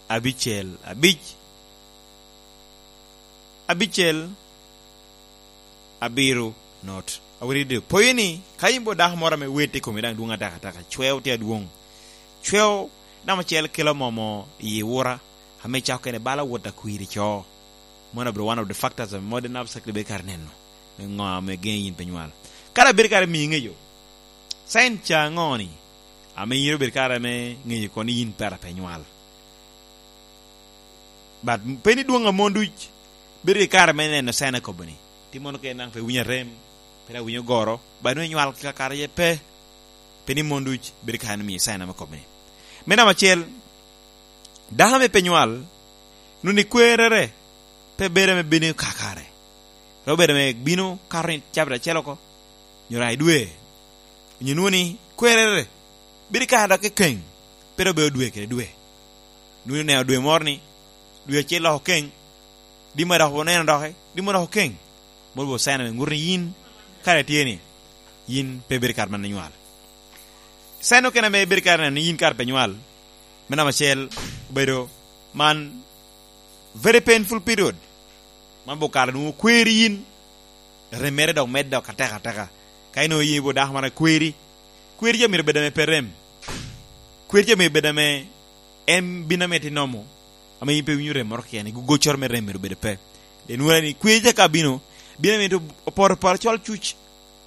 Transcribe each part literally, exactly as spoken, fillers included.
Abicel abic, abicel abiro not. Awiri de poyo ni, ka in bo dako moro ame wet i komi daŋ dwong ataka ataka, cweo tye adwong. Cweo namba acel kelo momo i wura, ame cako kene bala wot akwiri co. Mano abiro one of the factors of modern obstacle ibedo kare neno. Me ŋo ame geni yin pe nywal. Kara bedo kare miyo ŋeyo. Sign ca ŋo ni? Ame yin obedo kare me ŋeyo kono ni yin pera pe nywal. But pe ni dwong a mon duc, bedo i kare me neno sign akobo ni. Ti mono ke naŋ pe winyo arem, pe na winyo goro, ba nwe nywal ka kare ye pe. Pe ni mon duc, bedo kare ni miyo sign ame kobo ni. Me namba acel, dako ame pe nywal, nuni kwerere, pe bedo ame bino kakare. Robedo ame bino kato ni cabit acel oko, nyo ra i dwe, onyo nwoŋo ni kwerere, bedo kare dok kekeng, pe dok bedo dwe kede dwe. Nwoŋo oneno dwe moro ni, dwe acel dok okeng, di ma dok oneno doki, di ma dok okeng. Moro bo sign ame ŋuto ni yin, kare tye ni, yin pe bedo kare man inywal. Sign okene ame bedo kare neno ni yin kare pe nywal, me namba acel obedo man very painful period. Man bo kare nwoŋo kweri yin, remmere dok medde dok ateka ateka. Ka inwoŋo ye bo dako mara kweri, kweri ca myero bed ame pe rem. Kweri ca myero bed ame en bino ame tinomo, ame yin pe winyo rem moro keken, i goccoro me rem myero bed pe. Pien wora ni kweri ca ka bino, bino ame to opoto poto col cuc,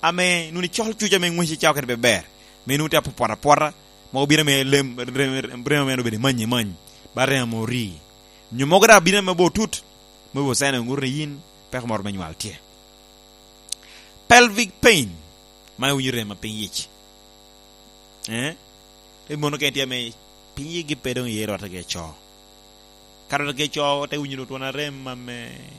ame nuni col cuc ame ŋwece cao kede pe ber. Me nwoŋo tye apopota apota, mogo bino ame lem, rem, rem, rem ame obedo many i many, ba rem ame ori. Nyo mogo dok bino ame bo tut, me bo sign ŋuto ni yin peko moro me nywal tye. Pelvic pain, man winyo rem a piny yic. Eh? Te mono kene tye ame piny yigi pe dong iye rote ke co. Ka rote ke co, te winyo dong twon arem ame